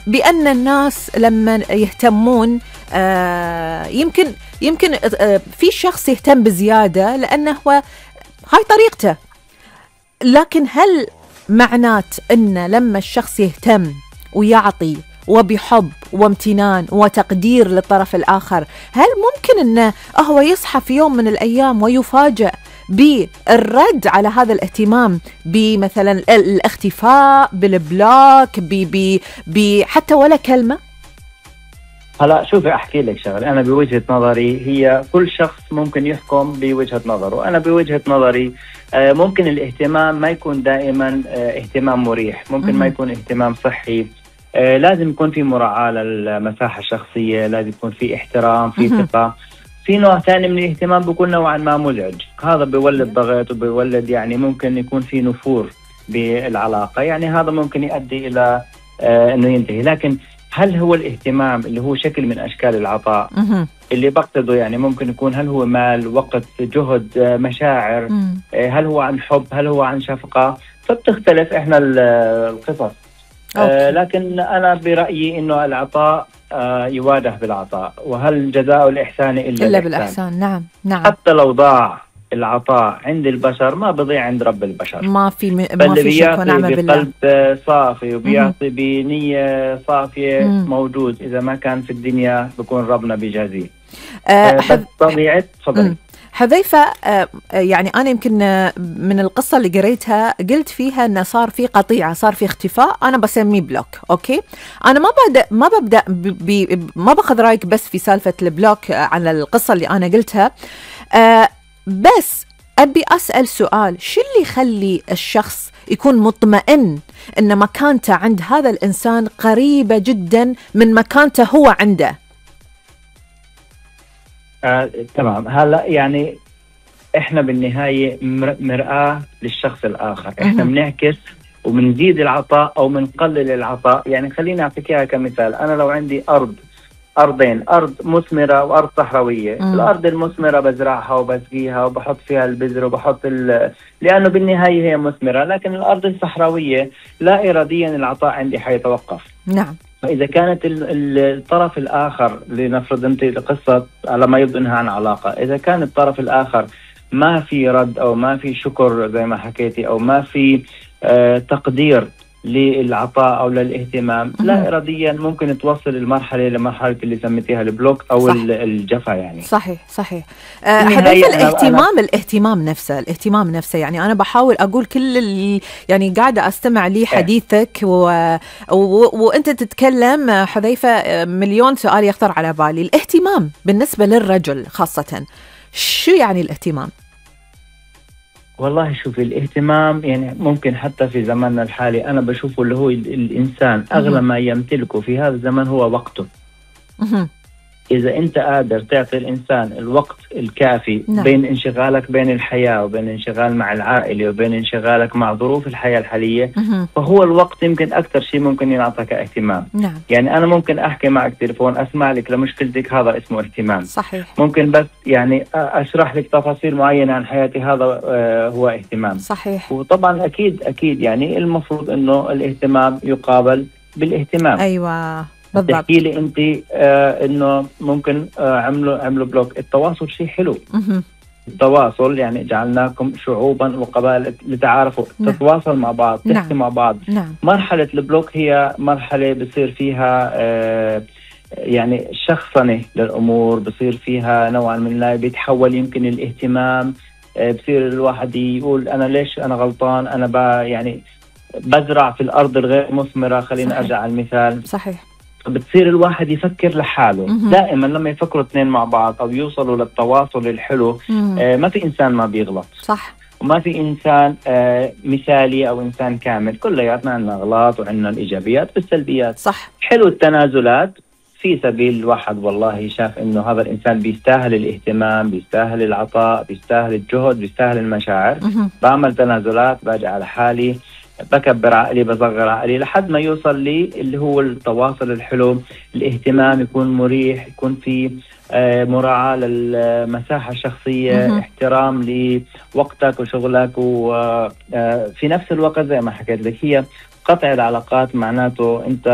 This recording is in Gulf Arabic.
بأن الناس لما يهتمون يمكن في شخص يهتم بزيادة لأنه هو هاي طريقته، لكن هل معنات أن لما الشخص يهتم ويعطي وبحب وامتنان وتقدير للطرف الآخر، هل ممكن أنه هو يصحى في يوم من الأيام ويفاجأ بالرد على هذا الاهتمام، بمثلا الاختفاء، بالبلوك، حتى ولا كلمة؟ هلا شوفي أحكي لك شغله، أنا بوجهة نظري هي كل شخص ممكن يحكم بوجهة نظره. أنا بوجهة نظري ممكن الاهتمام ما يكون دائما اهتمام مريح، ممكن ما يكون اهتمام صحي. لازم يكون في مراعاة للمساحة الشخصية، لازم يكون في احترام، في ثقة. في نوع ثاني من الاهتمام بيكون نوعا ما مزعج، هذا بيولد ضغط وبيولد يعني ممكن يكون في نفور بالعلاقة، يعني هذا ممكن يؤدي إلى أنه ينتهي. لكن هل هو الاهتمام اللي هو شكل من أشكال العطاء اللي بقصده، يعني ممكن يكون هل هو مال، وقت، جهد، مشاعر، هل هو عن حب، هل هو عن شفقة، فبتختلف إحنا القصص. لكن أنا برأيي إنه العطاء يواجه بالعطاء، وهل جزاء الإحسان إلا بالإحسان. نعم. حتى لو ضاع العطاء عند البشر ما بضيع عند رب البشر. ما في شك ونعم بالله. بقلب صافي وبيعطي بنية صافية موجود، إذا ما كان في الدنيا بكون ربنا بيجازيه. طبيعة تفضلي حذيفة. يعني أنا يمكن من القصة اللي قريتها قلت فيها أنه صار في قطيعة، صار في اختفاء، أنا بسميه بلوك. أوكي، أنا ما باخذ رأيك بس في سالفة البلوك على القصة اللي أنا قلتها، بس أبي أسأل سؤال: شو اللي يخلي الشخص يكون مطمئن أن مكانته عند هذا الإنسان قريبة جدا من مكانته هو عنده؟ تمام. هلا يعني احنا بالنهاية مرآة للشخص الآخر، احنا بنعكس وبنزيد العطاء او بنقلل العطاء. يعني خليني اعطيك اياها كمثال. انا لو عندي أرضين، أرض مثمرة وأرض صحراوية، الأرض المثمرة بزرعها وبسقيها وبحط فيها البذر وبحط لأنه بالنهاية هي مثمرة. لكن الأرض الصحراوية لا إراديا العطاء عندي حيتوقف. نعم. فإذا كانت الطرف الآخر، لنفرض أنت القصة على ما يبدو أنها عن علاقة، إذا كان الطرف الآخر ما في رد أو ما في شكر زي ما حكيتي، أو ما في تقدير للعطاء أو للاهتمام، لا إراديا ممكن توصل لمرحلة اللي سميتيها البلوك أو الجفا. يعني صحيح. حديث الاهتمام نفسه يعني أنا بحاول أقول كل اللي يعني قاعدة أستمع لي حديثك وأنت تتكلم حذيفة، مليون سؤال يخطر على بالي. الاهتمام بالنسبة للرجل خاصة، شو يعني الاهتمام؟ والله شوفي، الاهتمام يعني ممكن حتى في زماننا الحالي أنا بشوفه اللي هو الإنسان أغلى ما يمتلكه في هذا الزمن هو وقته. إذا أنت قادر تعطي الإنسان الوقت الكافي بين انشغالك بين الحياة وبين انشغال مع العائلة وبين انشغالك مع ظروف الحياة الحالية، فهو الوقت يمكن أكثر شيء ممكن ينعطيك اهتمام. يعني أنا ممكن أحكي معك تليفون، أسمع لك لمشكلتك، هذا اسمه اهتمام. صحيح. ممكن بس يعني أشرح لك تفاصيل معينة عن حياتي، هذا هو اهتمام. صحيح. وطبعا أكيد يعني المفروض إنه الاهتمام يقابل بالاهتمام. أيوة تحكي لي انت انه ممكن عملوا بلوك. التواصل شيء حلو. التواصل يعني جعلناكم شعوبا وقبائل لتعارفوا. تتواصل مع بعض، تحكي مع بعض. مرحلة البلوك هي مرحلة بصير فيها يعني شخصنة للأمور، بصير فيها نوعا من لا بيتحول يمكن الاهتمام، بصير الواحد يقول أنا ليش أنا غلطان، أنا يعني بزرع في الأرض الغير مثمرة. خلينا أرجع على المثال. صحيح. بتصير الواحد يفكر لحاله. دائما لما يفكروا اثنين مع بعض أو يوصلوا للتواصل الحلو، ما في إنسان ما بيغلط. صح. وما في إنسان مثالي أو إنسان كامل، كلياتنا عندنا أغلاط وعندنا الإيجابيات والسلبيات. صح. حلو التنازلات في سبيل الواحد والله شاف إنه هذا الإنسان بيستاهل الاهتمام، بيستاهل العطاء، بيستاهل الجهد، بيستاهل المشاعر. بعمل تنازلات، باجي على حالي، بكبر عقلي، بصغر عقلي، لحد ما يوصل لي اللي هو التواصل الحلو. الاهتمام يكون مريح، يكون في مراعاة للمساحة الشخصية، احترام لوقتك وشغلك، وفي نفس الوقت زي ما حكيت لك هي قطع العلاقات معناته انت